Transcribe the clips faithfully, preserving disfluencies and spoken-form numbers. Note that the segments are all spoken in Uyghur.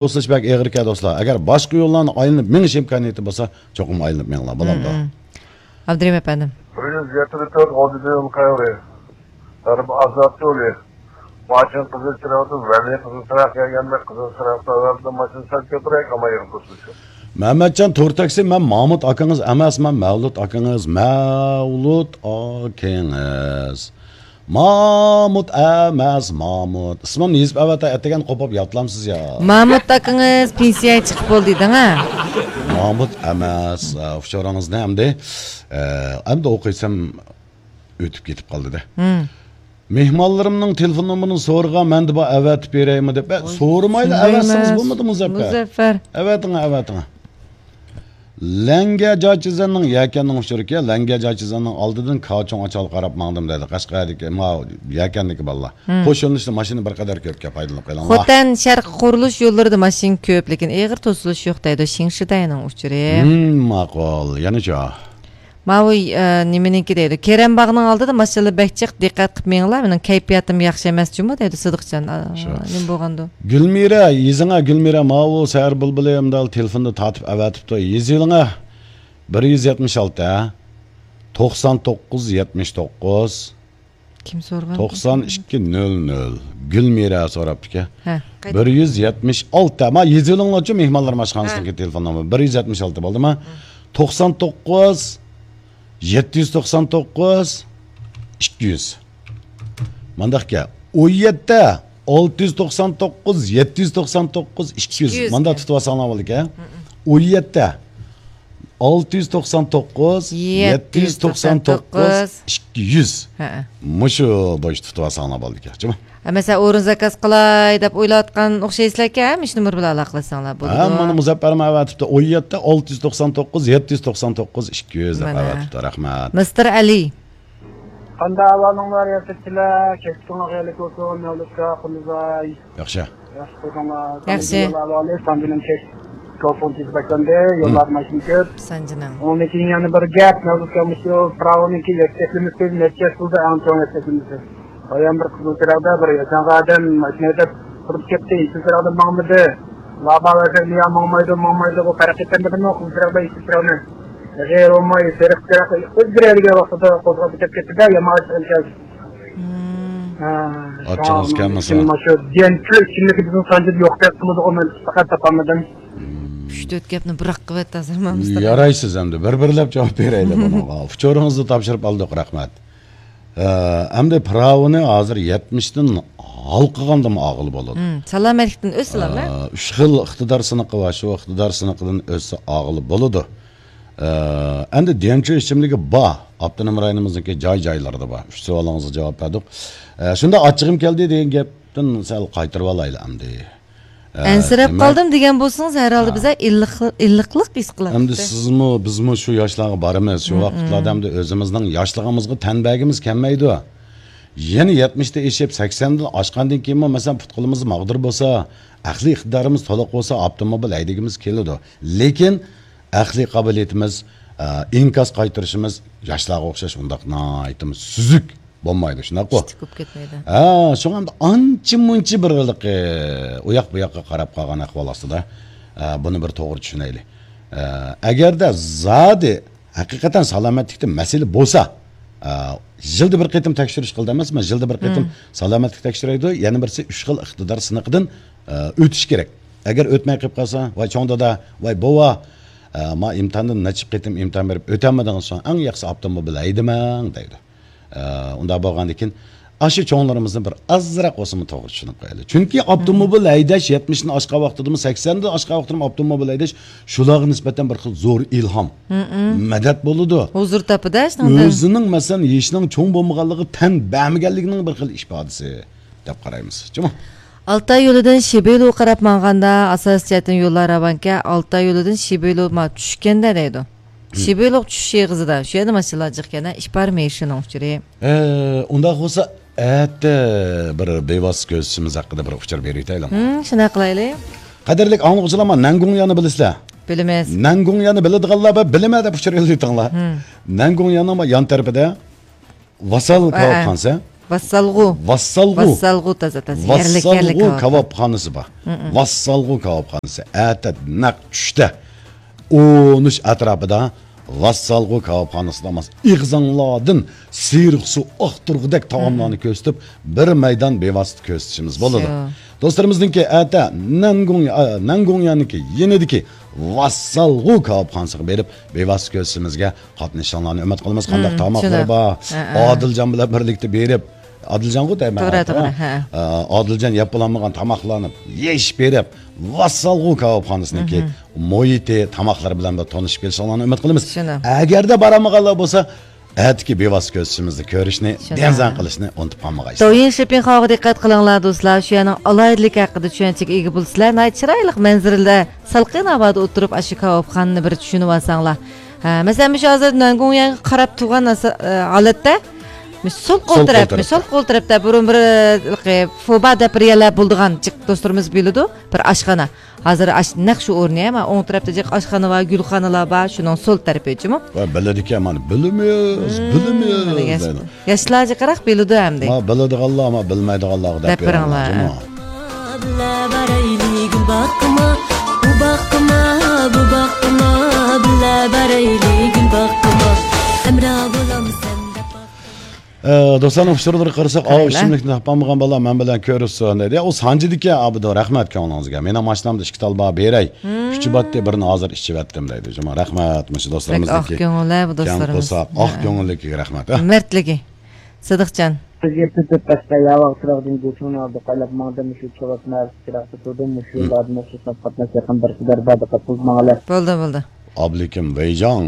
توسۇلۇش بەك ئېغىركەن، دوستلار. ئەگەر باشقا يوللارنى ئايلىنىپ مېڭىش ئىمكانىيىتى بولسا، چوقۇم ئايلىنىپ مېڭىڭلار، بولامدۇ؟ مم، مم. ئابدۇرېھىم ئەپەندىم. بىر يۈز يەتتە تۆت ئالدىدا يول قەيرى. غەربىي ئازاد يولى. ماشىنا قىزىل چىراغدىن، ۋەلى قىزىل چىراغ كەلگەندە قىزىل چىراغ تەۋەردە ماشىنا سەل كۆپرەك، ئەمما يىغىپ تۇرسۇن. مەمەتجان تور تاكسى، مەن مامۇت ئاكىڭىز ئەمەس، مەن مەۋلۇت ئاكىڭىز، مەۋلۇت ئاكىڭىز. مامۇت ئەمەس، مامۇت. ئىسمىمنى يېزىپ ئەۋەتە، ئەتىگەن قوپۇپ ياتلامسىز يا؟ مامۇت ئاكىڭىز پېنسىيەگە چىقىپ بولدى دەڭ ھە؟ مامۇت ئەمەس. ئە، ئۇچۇرىڭىزنى ئەمدى، ئە، ئەمدى ئوقۇيسام ئۆتۈپ كېتىپ قالدى-دە. ھىم. مېھمانلىرىمنىڭ تېلېفون نومۇرىنى سورىغان، مەندە بار، ئەۋەتىپ بېرەيمۇ دەپ. ئە، سورىمايلا ئەۋەتسىڭىز بولمىدىمۇ، مۇزەپپەر؟ مۇزەففەر. ئەۋەتىڭ، ئەۋەتىڭ. لەڭگە جاچىزەننىڭ يەكەننىڭ ئۇچۇرىكەن، لەڭگە جاچىزەننىڭ ئالدىدىن كاچۇڭ ئاچال قاراپ ماڭدىم دەيدۇ. قەشقەردىكى، ما، يەكەندىكى بالىلار. ھىم. قوش يۆنىلىشتە ماشىنا بىر قەدەر كۆپكەن، پايدىلىنىپ قېلىڭلار. خوتەن شەرقىي قۇرۇلۇش يوللىرىدا ماشىنا كۆپ، لېكىن ئېغىر توسۇلۇش يوق دەيدۇ، شىڭشىدەينىڭ ئۇچۇرى. ھىم، ماقۇل. يەنىچۇ؟ ماۋۇ، ئە، نېمىنىڭكى دەيدۇ؟ كېرەم باغنىڭ ئالدىدا ماشىنىلار بەك جىق، دىققەت قىلىپ مېڭىڭلار، مېنىڭ كەيپىياتىم ياخشى ئەمەس جۇمۇ دەيدۇ، سىدىقجان. ئا، شۇ. نېمە بولغاندۇ؟ گۈلمىرە، يېزىڭە، گۈلمىرە، ماۋۇ سەھەر بۇلبۇلى ئەمدى تېلېفوندا تارتىپ ئەۋەتىپتۇ. يېزىۋېلىڭە، بىر يۈز يەتمىش ئالتە، توقسان توققۇز، يەتمىش توققۇز. كىم سورىغان؟ توقسان ئىككى نۆل نۆل. گۈلمىرە سوراپتىكەن. ھە. بىر يۈز يەتمىش ئالتە. ما يېزىۋېلىڭلارچۇ، مېھمانلار ئاشخانىسىنىڭكى ھە. تېلېفون نومۇرى. بىر يۈز يەتمىش ئالتە بولدىما؟ ھە. توقسان توققۇز، يەتتە يۈز توقسان توققۇز، ئىككى يۈز. مانداقكەن. ئون يەتتە، ئالتە يۈز توقسان توققۇز، يەتتە يۈز توقسان توققۇز، ئىككى يۈز. ئىككى يۈز. ماندا تۇتۇۋالساڭلار بولىدىكەن. ھە. ئون يەتتە، ئالتە يۈز توقسان توققۇز، يەتتە يۈز توقسان توققۇز، ئىككى يۈز. ھە. مۇشۇ بويىچە تۇتۇۋالساڭلار بولىدىكەن. جۇمۇ. ھە، مەسىلەن، ئورۇن زاكاز قىلاي دەپ ئويلاۋاتقان ئوخشايسىلەركەن، مۇشۇ نومۇر بىلەن ئالاقىلەشسەڭلار بولىدۇ. ھە، مانا مۇزەپپەر ئەۋەتىپتۇ. ئون يەتتە، ئالتە يۈز توقسان توققۇز، يەتتە يۈز توقسان توققۇز، ئىككى يۈز دەپ مانا. ئەۋەتىپتۇ. رەھمەت. مىستېر ئەلى. قانداق ئەھۋالىڭلار، ياپىچىلەر؟ كەچلىكىڭلار خەيرلىك بولسۇن، مەۋلۇت ئاكا، قۇلۇزاي. ياخشى. ياخشى قىلدىڭلار. ياخشى. سانجىنىڭ كەچ، كۆپ فون تېز باشلاندى. يوللاردا ماشىنا كۆپ. سانجىنىڭ. ئۇنىڭدىن كېيىن يەنە بىر گەپ، مەۋلۇت ئاكا، مۇشۇ پىراۋىنىڭكى يەكچەكلىمىسى نەچچە ياش بولدى، ئەڭ چوڭ يەكچەكلىمىسى. بايام بىر قىزىل چىراغدا بىر ياشانغان ئادەم ماشىنا ھەيدەپ تۇرۇپ كەتتى، يېشىل چىراغدا ماڭمىدى. لابا بەرسەك نىيا ماڭمايدۇ، ماڭمايدۇ، بۇ پەرق ئېتەلمىدىمۇ قىزىل چىراغدا يېشىل چىراغنى؟ غېرىب بولماي، سېرىق چىراغ ئۆزگىرەلىگەن ۋاقتىدا قوزغاپ كېتىپ كەتتى-دە، يامان ئىشقا كەلدى. مم. ھە، ئاچچىقىڭىز شۇڭا كەلمىسۇن. مانا شۇ دىيەنچۇ ئىچىملىكى بىزنىڭ سانجىدا يوق دەپ قىلىدىغۇ، مەن پەقەت تاپالمىدىم. ئۈچ تۆت گەپنى بىراق قىلىۋەتتى ھازىر مامۇستا. يارايسىز ئەمدى، بىر بىرلەپ جاۋاب بېرەيلى بۇنىڭغا. ئۇچۇرىڭىزنى تاپشۇرۇپ ئالدۇق، رەھمەت. ئە، ئەمدى پىراۋىنى ھازىر يەتمىشتىن ھالقىغاندىمۇ ئاغىلى بولىدۇ. مم، سالامەتلىكتىن ئۆتسىلا. ئە، ئۈچ خىل ئىقتىدار سىنىقى بار، شۇ ئىقتىدار سىنىقىدىن ئۆتسە ئاغىلى بولىدۇ. ئە، ئەمدى دىيەنچۇ ئىچىملىكى بار، ئاپتونوم رايونىمىزنىڭكى جاي-جايلىرىدا بار. ئۈچ سوئالىڭىزغا جاۋاب بەردۇق. ئە، شۇنداق ئاچچىقىم كەلدى دېگەن گەپتىن سەل قايتۇرۇۋالايلى ئەمدى. ئە، ئەنسىرەپ دېمەك، قالدىم دېگەن بولسىڭىز، ھەر ھالدا ھە. بىزلەر ئىللىق-، ئىللىقلىق ھېس قىلاتتۇق. ئەمدى سىزمۇ، بىزمۇ شۇ ياشلارغا بارىمىز. شۇ ھم، ۋاقىتلاردا ھم. ئەمدى ئۆزىمىزنىڭ ياشلىقىمىزغا تەن بەرگىمىز كەلمەيدۇ. يەنە يەتمىشتە ئېشىپ، سەكسەندىن ئاشقاندىن كېيىنمۇ، مەسىلەن، پۇت-قولىمىز ماغدۇر بولسا، ئەقلىي ئىقتىدارىمىز تولۇق بولسا، ئاپتوموبىل ھەيدىگىمىز كېلىدۇ. لېكىن ئەقلىي قابىلىيىتىمىز، ئە، ئىنكاس قايتۇرۇشىمىز ياشلارغا ئوخشاش ئۇنداق ناھايىتىمۇ سۈزۈك. بولمايدۇ، شۇنداققۇ؟ كىچىك بولۇپ كەتمەيدۇ. ھە، شۇڭا ئەمدى ئانچە-مۇنچە بىر ھېلىقى ئۇياق-بۇياققا قاراپ قالغان ئەھۋال ئاستىدا، ئە، بۇنى بىر توغرا چۈشىنەيلى. ئە، ئەگەردە زادى ھەقىقەتەن سالامەتلىكتە مەسىلە بولسا، ئە، يىلدا بىر قېتىم تەكشۈرۈش قىلدى ئەمەسمۇ، يىلدا بىر قېتىم مم. سالامەتلىك تەكشۈرەيدۇ، يەنە بىرسى ئۈچ خىل ئىقتىدار سىنىقىدىن، ئە، ئۆتۈش كېرەك. ئەگەر ئۆتمەي قېلىپ قالسا، ۋاي چوڭ دادا، ۋاي بوۋا، ئە، ما ئىمتىھاندىن نەچچە قېتىم ئىمتىھان بېرىپ ئۆتەلمىدىڭىز، شۇڭا ئەڭ ياخشىسى ئاپتوموبىل ھەيدىمەڭ دەيدۇ. ئە، ئۇنداق بولغاندىكىن، ئاشۇ چوڭلىرىمىزنى بىر ئازراق بولسىمۇ توغرا چۈشىنىپ قويايلى. چۈنكى ئاپتوموبىل ھەيدەش، يەتمىشتىن ئاشقان ۋاقتىدىمۇ، سەكسەندىن ئاشقان ۋاقتىدىمۇ ئاپتوموبىل ھەيدەش شۇلارغا نىسبەتەن بىر خىل زور ئىلھام، مەدەت بولىدۇ. ھۇزۇر تاپىدۇ شۇنىڭدىن. ئۆزىنىڭ، مەسىلەن، يېشىنىڭ چوڭ بولمىغانلىقى، تەن بەرمىگەنلىكىنىڭ بىر خىل ئىپادىسى دەپ قارايمىز. جۇمۇ. ئالتاي يولىدىن شىبېيلۇغا قاراپ ماڭغاندا، ئاساسىي جەھەتتىن يوللار راۋانكەن، ئالتاي يولىدىن شىبېيلۇ ما چۈشكەندە دەيدۇ. شىبېيلۇق چۈشۈش ئېغىزىدا، شۇ يەردە ماشىنىلار جىق ئىكەن، ئىپار مېيىشىنىڭ ئۇچۇرى. ئە، ئۇنداق بولسا، ئەتە بىر بىۋاسىتە كۆزىتىشىمىز ھەققىدە بىر ئۇچۇر بېرىۋېتەيلى. ھىم، شۇنداق قىلايلى. قەدىرلىك ئاڭلىغۇچىلار، ما نەنگۇڭيانى بىلىسىلەر؟ بىلىمىز. نەنگۇڭيانى بىلىدىغانلار بىر بىلىمەن دەپ ئۇچۇر يوللىۋېتىڭلار. ھىم. نەنگۇڭياننىڭ ما يان تەرىپىدە ۋاسال ئە، ئە. كاۋاپخانىسى. ۋاسسالغۇ. ۋاسسالغۇ. ۋاسسالغۇ تازا، تازا. يەرلىك، يەرلىك ۋاسسالغۇ كاۋاپخانا. كاۋاپخانىسى بار. ھم، ھم. ۋاسسالغۇ كاۋاپخانىسى. ئەتە نەق چۈشتە ئون ئۈچ ئەتراپىدا ۋاسسالغۇ كاۋاپخانىسىدا ماس ئېغىزىڭلاردىن سېرىق سۇ ئاقتۇرغۇدەك تائاملارنى، ھم، كۆرسىتىپ، بىر مەيدان بىۋاسىتە كۆرسىتىشىمىز بولىدۇ. شۇ. دوستلىرىمىزنىڭكى ئەتە نەنگۇڭ-، ئا، نەنگۇڭياننىڭكى يېنىدىكى ۋاسسالغۇ كاۋاپخانىسىغا بېرىپ، بىۋاسىتە كۆرسىتىشىمىزگە قاتنىشىشىڭلارنى ئۈمىد قىلىمىز. قانداق، مم، تاماقلىرى شۇنداق، بار؟ ھە، ھە. ئادىلجان بىلەن بىرلىكتە بېرىپ، ئادىلجانغۇ دەيمەن، توغرا، ھە؟ توغرا، ھە. ئە، ئادىلجان يەپ بولالمىغان تاماقلارنى يېيىش بېرىپ، ۋاسسالغۇ كاۋاپخانىسىنىڭكى، مم، مۇھىتى، تاماقلىرى بىلەن بىر تونۇشۇپ كېلىشىڭلارنى ئۈمىد قىلىمىز. شۇنداق. ئەگەردە بارالمىغانلار بولسا، ئەتىكى بىۋاسىتە كۆرسىتىشىمىزنى كۆرۈشنى، شۇنداق، دىڭزەڭ قىلىشنى ئۇنتۇپ قالمىغايسىلەر. دويىن شېپىڭخاۋغا دىققەت قىلىڭلار، دوستلار. شۇ يەرنىڭ ئالاھىدىلىكى ھەققىدە چۈشەنچىگە ئىگە بولىسىلەر. ناھايىتى چىرايلىق مەنزىرىلەر. سالقىن ھاۋادا ئولتۇرۇپ، ئاشۇ كاۋاپخانىنى بىر چۈشىنىۋالساڭلار. ھە، مەسىلەن، مۇشۇ ھازىر نەنگۇڭيەنگە قاراپ تۇرغان ھاسا-، ئە، ھالەتتە، مۇشۇ سول قول سول قول تەرەپ، تەرەپتە. سول قول تەرەپتە بۇرۇن بىر، ئە، فوبا دەپ بىر يەرلەر بولىدىغان جىق دوستلىرىمىز بىلىدۇ، بىر ئاشخانا. ھازىر ئاش-، نەق شۇ ئورنى، ئەمما ئوڭ تەرەپتە جىق ئاشخانا بار، گۈلخانىلار بار، شۇنىڭ سول تەرىپى جۇمۇ. ۋە بىلىدىكەن، مانا، بىلىمىز، مم، بىلىمىز ياش-، دەيدۇ. ياشلار جىقراق بىلىدۇ ئەمدى. ما بىلىدىغانلار، ما بىلمەيدىغانلارغا دەپ دەپ بېرىڭلار، بېرىڭلار. جۇمۇ. بىللە بارەيلى گۈل باغقىما، بۇ باغقىما، بۇ باغقىما، بىللە بارەيلى گۈل باغقىما، ھەمراھ بولامسەن دەپ باق. ئە، دوستلارنىڭ ئۇچۇرلىرىغا قارىساق، ئاۋۇ قارايلا. ئىچىملىكنى تاپالمىغان بالا مەن بىلەن كۆرۈشسۇن دەيدۇ. يا، ئۇ سانجىدىكەن، ئابىدۇ، رەھمەت كۆڭلىڭىزگە. مېنىڭ ماشىنامدا ئىككى تال بار، بېرەي. مم. ئۈچى باتتى، بىرىنى ھازىر ئىچىۋەتتىم دەيدۇ. جۇمۇ، رەھمەت، مۇشۇ بەك ئاق دوستلىرىمىزنىڭكى كۆڭۈل، ھە، بۇ كەڭ دوستلىرىمىز. قورساق، ئاق، ھە، كۆڭۈللۈكىگە رەھمەت، ھە. مەردلىكى. سىدىقجان. بىزگە تۈتۈپ باشقا ياۋاق چىراغدىن گۇچۇڭنى ئالدى قايلاپ ماڭدى، مۇشۇ چوۋاز مەھەللىسى چىراغدا تۇردۇم، مۇشۇ يوللاردىن ئوخشاش قاتناش يېقىن بىر قەدەر بار، دىققەت قىلىپ ماڭىلى. بولدى، بولدى. ئابلىكىم ۋەيجاڭ.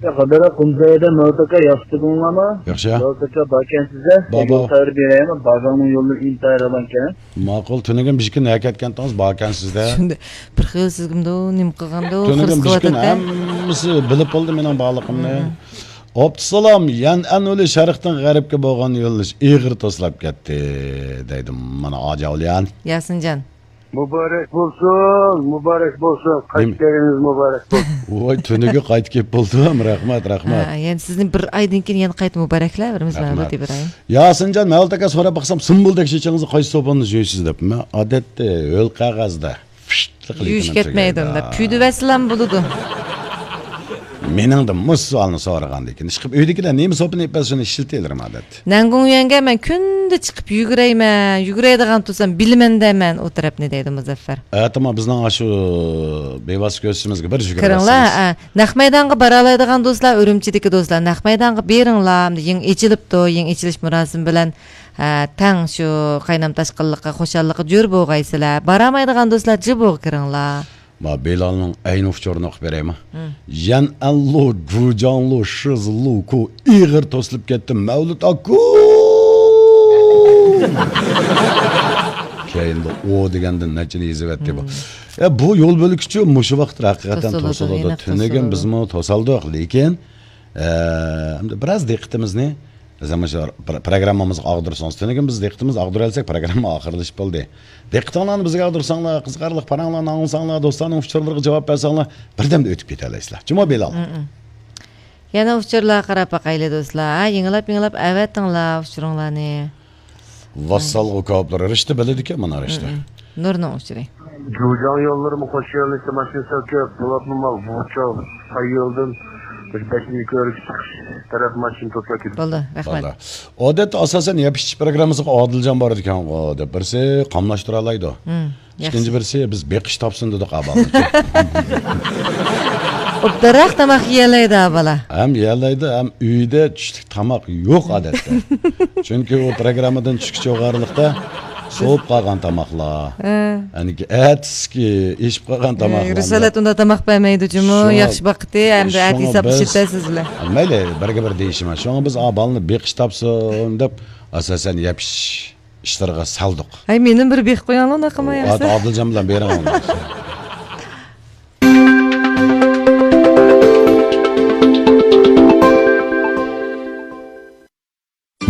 يا، قادىر قۇمزايدا مەۋتاكا ياخشى تۇردۇڭلارمۇ؟ ياخشى. مەۋتاكا باركەنسىز دە. بابا. يول خەۋىرى بېرەيمۇ؟ بازارنىڭ يوللىرى ئىنتايىن راۋانكەن. ماقۇل، تۈنۈگۈن بىر كۈن ھەرىكەتكەنتىڭىز باركەنسىز دە. شۇندى. بىر خىل سىزگىمدۇ، نېمە قىلغاندۇ، تۈنۈگۈن خىرىس بىر كۈن قىلىۋاتاتتى. ھەممىسى بىلىپ بولدى مېنىڭ بارلىقىمنى. مم. ئابدۇسالام، يەنئەن يولى شەرقتىن غەربكە بولغان يۆنىلىش ئېغىر توسلاپ كەتتى، دەيدۇ مانا ئاجاۋلىيان. ياسىنجان. مۇبارەك بولسۇن، مۇبارەك بولسۇن، قايتىپ نېمە؟ كەلگىنىڭىز مۇبارەك بولسۇن. ۋاي، تۈنۈگۈن قايتىپ كېلىپ بولدۇم، رەھمەت، رەھمەت. ھە، يەنە سىزنى بىر ئايدىن كېيىن يەنە قايتا مۇبارەكلەۋېرىمىز، رەھمەت. مەۋلۇت ئىبراھىم. ياسىنجان، مەۋلۇت ئاكا سوراپ باقسام، سۇمبۇلدەك چېچىڭىزنى قايسى سوپۇندا يۇيىسىز دەپ. مەن ئادەتتە ھۆل قەغەزدە. پىشتلىق يۇيۇش لېكىن كەتمەيدۇ تۈگەيدۇ. ئۇنداق. پۈدۈۋەتسىلەم بولىدۇ. مېنىڭدىن مۇشۇ سوئالنى سورىغاندىن كېيىن، ئىشقىلىپ ئۆيدىكىلەر نېمە سوپىنى ئېلىپ بەرسە، شۇنى ئىشلىتىۋېرىمەن ئادەتتە. نەنگۇڭيۈەنگە مەن كۈندە چىقىپ يۈگۈرەيمەن، يۈگۈرەيدىغان تۇرسام بىلىمەن دەيمەن ئۇ تەرەپنى، دەيدۇ مۇزەففەر. ئەتىمۇ بىزنىڭ ئاشۇ بىۋاسىتە كۆرسىتىشىمىزگە بىر يۈگۈرۈۋەرسىڭىز. كىرىڭلار، ھە. نەق مەيدانغا بارالايدىغان دوستلار، ئۈرۈمچىدىكى دوستلار، نەق مەيدانغا بېرىڭلار. يېڭى ئېچىلىپتۇ، يېڭى ئېچىلىش مۇراسىمى بىلەن ھە، تەڭ شۇ قاينام تاشقىنلىققا، خۇشاللىققا جۆر بولغايسىلەر. بارالمايدىغان دوستلار جىبۇغا كىرىڭلار. ما بىلالنىڭ ئەينى ئۇچۇرىنى ئوقۇپ بېرەيمۇ؟ ھىم. يەنئەنلۇ، جۇجاڭلۇ، شىزلۇكۇ ئېغىر توسۇلۇپ كەتتى، مەۋلۇت ئاكا! كەينىدە ئو دېگەندىن نەچچىنى يېزىۋەتتى بۇ. ھىم. ئە، بۇ يول بۆلگۈچى مۇشۇ ۋاقىتتا ھەقىقەتەن توسۇلىدۇ، توسۇلىدۇ. ھېلىقى تۈنۈگۈن توسۇلىدۇ. بىزمۇ توسالدۇق، لېكىن، ئە، ئەمدى بىراز دىققىتىمىزنى بىز مۇشۇ پر-، پروگراممىمىزغا ئاغدۇرسىڭىز، تۈنۈگۈن بىز دىققىتىمىزنى ئاغدۇرالىساق، پروگرامما ئاخىرلىشىپ بولدى. دىققىتىڭلارنى بىزگە ئاغدۇرساڭلار، قىزىقارلىق پاراڭلارنى ئاڭلىساڭلار، دوستلارنىڭ ئۇچۇرلىرىغا جاۋاب بەرسەڭلار، بىردەمدە ئۆتۈپ كېتەلەيسىلەر. جۇمۇ بىلال. مم. يەنە ئۇچۇرلارغا قاراپ باقايلى، دوستلار. ھە، يېڭىلاپ، يېڭىلاپ ئەۋەتىڭلار ئۇچۇرۇڭلارنى. ۋاسسالغۇ كاۋاپلىرى، رىشتە بىلىدىكەن مانا رىشتە. مم. نۇرنىڭ ئۇچۇرى. جۇجاڭ يوللىرىمۇ خۇش يۆنىلىشتە ماشىنا سەل كۆپ، بولۇپمۇ ماۋۇ ۋۇچاۋ ساي يولدىن مۇشۇ بەشىنچى كۆۋرۈككە چىقىش تەرەپ ماشىنا توسۇلۇپ كېتىدۇ. بولدى، رەھمەت. بولدى. ئادەتتە ئاساسەن يەپ ئىچىش پروگراممىسىغا ئادىلجان بارىدىكەنغۇ دەپ، بىرسى قاملاشتۇرالايدۇ. ھىم، ياخشى. ئىككىنچى بىرسى بىز بېقىش تاپسۇن دېدۇق ئاۋۋال. ئوبدانراق تاماق يېيەلەيدۇ ھە بالا. ھەم يېيەلەيدۇ، ھەم ئۆيدە چۈشلۈك تاماق يوق ئادەتتە. چۈنكى ئۇ پروگراممىدىن چۈشكىچە ئوغارلىقتا سوۋۇپ قالغان تاماقلار. ھە. ئەنىكى ئەتىسىكى ئېشىپ قالغان ھە، تاماقلار. رىسالەت ئۇنداق تاماق بەرمەيدۇ جۇمۇ، شۇڭا، ياخشى باقتى، ئەمدى ئەتە شۇڭا ھېساب بىز، ئىشلىتەسىزلەر. مەيلى، بىرگە بىر دېيىشىمەن. شۇڭا بىز ئا بالىنى بېقىش تاپسۇن دەپ، ئاساسەن يەپ ئىچىش ئىشلىرىغا سالدۇق. ھەي، مېنىمۇ بىر بېقىپ قويۇڭلار، ئۇنداق قىلماي ئادىل-، ياخشى. ئادىلجان بىلەن بېرىڭ ئۇنداق.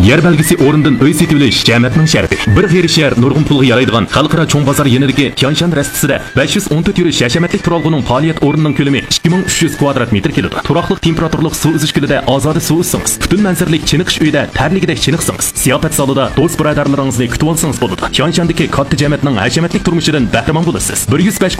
يەر بەلگىسى ئورنىدىن ئۆي سېتىۋېلىش جەمەتنىڭ شەرىپى. بىر غېرىب شەھەر نۇرغۇن پۇلغا يارايدىغان خەلقئارا چوڭ بازار يېنىدىكى تيانشان رەستىسىدە بەش يۈز ئون تۆت يۈرۈش ھەشەمەتلىك تۇرالغۇنىڭ پائالىيەت ئورنىنىڭ كۆلىمى ئىككى مىڭ ئۈچ يۈز كۋادرات مېتىر كېلىدۇ. تۇراقلىق تېمپېراتۇرىلىق سۇ ئۈزۈش كۆلىدە ئازادە سۇ ئۈزسىڭىز، پۈتۈن مەنزىرىلىك چېنىقىش ئۆيىدە تەرلىگۈدەك چېنىقسىڭىز، زىياپەت زالىدا دوست بۇرادەرلىرىڭىزنى كۈتۈۋالسىڭىز بولىدۇ. تيانشاندىكى كاتتا جەمەتنىڭ ھەشەمەتلىك تۇرمۇشىدىن بەھرىمەن بولىسىز. بىر يۈز بەش